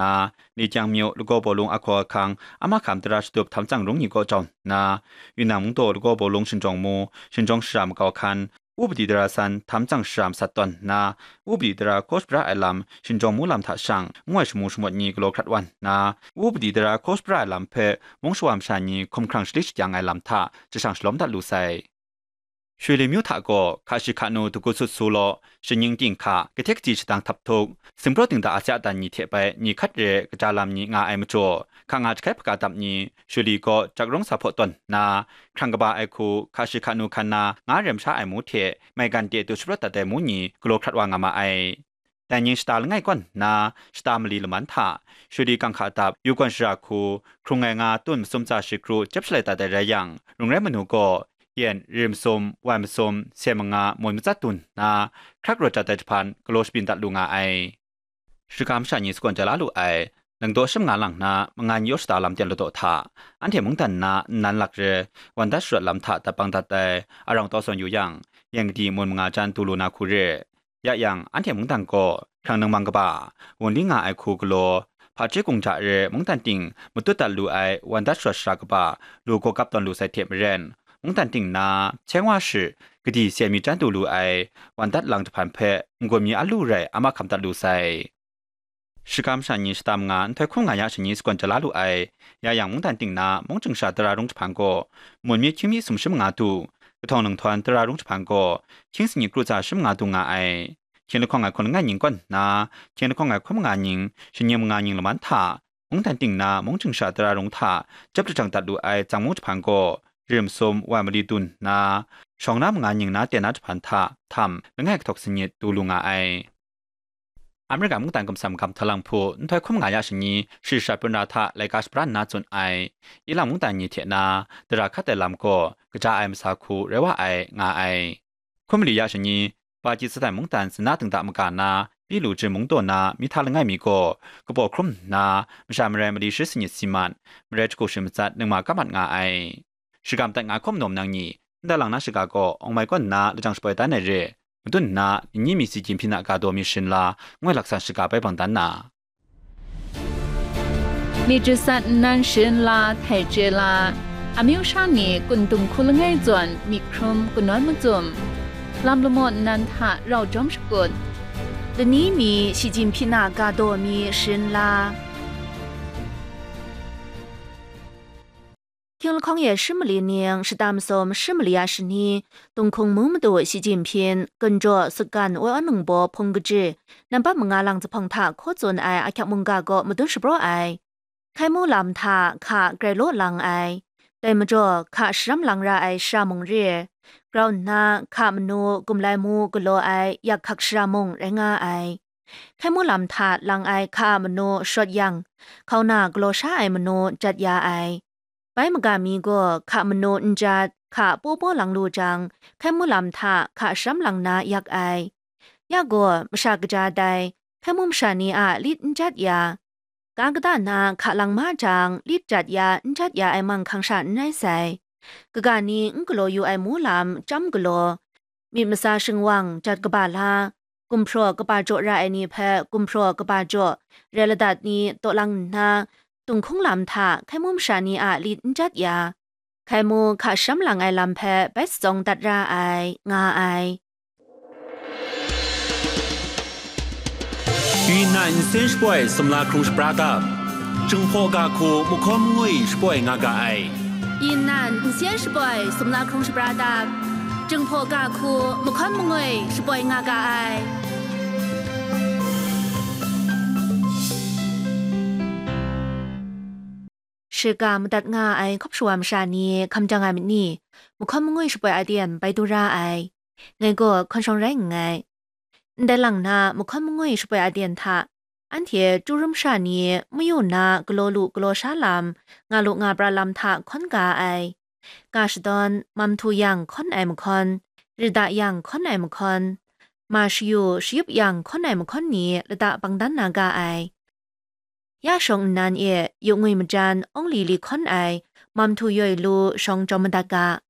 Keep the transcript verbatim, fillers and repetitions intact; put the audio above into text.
nna, Likyang myu lagaw bawlung ahkaw ahkang a mahkam tara shatup htam tsang rung ni kaw jau nna, Yunnan mungdaw lagaw bawlung shinjawng mu, shinjawng shara makau hkan, upadi tara san htam tsang shara masat tawn nna, upadi tara hkaw shapra ai lam shinjawng mu lam hta shang, ngu ai shamu shamawt ni galaw hkrat wan nna, upadi tara hkaw shapra ai lam hpe mung shawa masha ni hkumhkrang shali shakyang ai lam hta jashang shalawm dat lu sai. Shuli myu hta gaw hka shi hka nu dagu sut su law, shaning ting hka, kahte kahti shadang htap htuk, singpraw dingda a sya dan ni hte bai ni hkat re kaja lam ni nga ai majaw, hka nga jahkai hpaka dap ni, Shuli gaw jak rung sa hpaw tawn nna, hkrang kaba ai hku, hka shi hka nu hkan na nga rem sha ai mu hte, maigan de du sharawt dat ai mu ni galaw hkrat wa nga ma ai. Dai ning shata langai kawn nna, shata mali laman hta, Shuli kang hka dap, yu gawn shara hku, hkrung ai nga tun masum tsa shi kru chyep shalai dat ai rai yang, rung rai manu gaw, yen, ri masum, wai masum, se manga, moi matsat dun nna, hkrak rawt jat ai jahpan galaw shabyin dat lu nga ai. Shiga masha ni sagawn ja la lu ai, langdaw shim nga lang na, mangan yaw shata lam ten ladaw hta, anhte mungdan na nnan lak re, wan dat sharawt lam hta dap bang dat ai, arang tau sawn yu yang, yen kadi mun manga jan du lu na hku re. Ya yang, anhte mungdan gaw, hkrang ningmang kaba, wunli nga ai hku galaw, hpaji kungja re mungdan ting matut dat lu ai wan dat sharawt shara kaba, lu gaw kap tawn lu sai hte maren, mungdan ting na, Cheng wa shi, kadi se mi jan du lu ai, wan dat lang jahpan hpe, n-gun mi a lu rai a mahkam dat lu sai. Shiga masha ni shata manga nhtoi hkum nga ya shani sagawn ja la lu ai, ya yang mungdan ting na mung ching sha tara rung jahpan gaw, mun mi hkying mi sum shi manga du, kahtawng ninghtawng tara rung jahpan gaw, hkying sanit kru tsa shi manga du nga ai. Hkying lahkawng ai hkun langai ning kawn nna, hkying lahkawng ai hkun manga ning, shaning manga ning laman hta, mungdan ting na mung ching sha tara rung hta, jep lajang dat lu ai tsang mung jahpan gaw, rim sum wai mali dun nna, shawng na manga ning na ten na jahpan hta, htam, langai kahtawk sanit du lu nga ai. Amerika mungdan kamsam gam hta lang hpu, nhtoi hkum nga ya shani, shri shat pun ra hta laika shapran nna tsun ai, ilang mungdan ni hte na, dara hkat ai lam gaw, kaja ai masa hku rai wa ai, nga ai. Hkum mali ya shani, Pakistan mungdan zana dingda maga na, Pilu Jin mungdaw na, mihta langai mi gaw, kabaw hkrum nna, masha marai mali shi sanit si mat, marai jahku shi matsat ningma kap mat nga ai. Shagam dat nga hkawm nawm nang ni, ndai lang na shiga gaw, awng mai kawn nna lajang shapoi dan ai re, madun nna, nni mi si Jinping a ga daw mi sharin la, ngoi laksan shiga bai bang dan na. มีจิตสัตว์นั้น sharin la, htai chye la, amyu sha ni kun dung hku langai zawn myit hkrum kanawn macum, lam lamaw nnan hta rau jawm shakut, lani mi shi Jinping a ga daw mi sharin la. Hkying lahkawng e shi mali ning, shata masum shi mali a shani, Tunghkung mung madu shi Jinping, Gunjaw, Sutgan, Woi Awn Ningbaw, Hpung Kaji, nambat manga lang jahpawng hta hkaw tsun ai ahkyak mungga gaw madun shapraw ai. Hkai mu lam hta hka grai law lang ai. Dai majaw, hka sharam lang ra ai shara mung re, grau nna hka manu gumlai mu galaw ai yak hkak shara mung rai nga ai. Hkai mu lam hta lang ai hka a manu shawt yang, hkauna galaw sha ai manu jat ya ai. Bai maga mi gaw hka manu n jat, hka paw paw lang lu jang, hkai mu lam hta hka sharam lang na yak ai. Ya gaw, masha kaja dai, hkai mu masha ni a lit n jat ya, ga kata na hka lang ma jang, lit jat ya, n jat ya ai manghkang sha n rai sai. Kaga ni n galaw yu ai mu lam chyam galaw, myit masa shingwang jat kaba la, gumhpraw kaba jaw ra ai ni hpe gumhpraw kaba jaw, rai ladat ni taw lang nna, Tunghkung lam hta hkai mu masha ni a lit n jat ya, hkai mu hka sharam lang ai lam hpe bai shatsawng dat ra ai, nga ai. Yunnan nsen shapoi sumla hkrung shapra dap, Jinghpaw ga hku mahkawn mangwi shapoi nga ga ai. Yunnan nsen shapoi sumla hkrung shapra dap, Jinghpaw ga hku mahkawn mangwi shapoi nga ga ai. Shiga madat nga ai hkawp shawa masha ni hkam jang ai myit ni, mahkawn mangwi shapoi aten bai du ra ai. Ngai gaw hkawn shawng rai nngai. Ndai lang na mahkawn mangwi shapoi aten hta, anhte chyu rum sha ni mayu na galaw lu galaw sha lam, nga lu nga pra lam hta hkawn ga ai. Ga shadawn, mam htu yang hkawn ai mahkawn, rida yang hkawn ai mahkawn, ma shayu shayup yang hkawn ai mahkawn ni lada bang dan na ga ai. Ya shawng nnan e yu ngwi majan awng li li hkawn ai, mam htu yoi lu shawng jawm madat ga.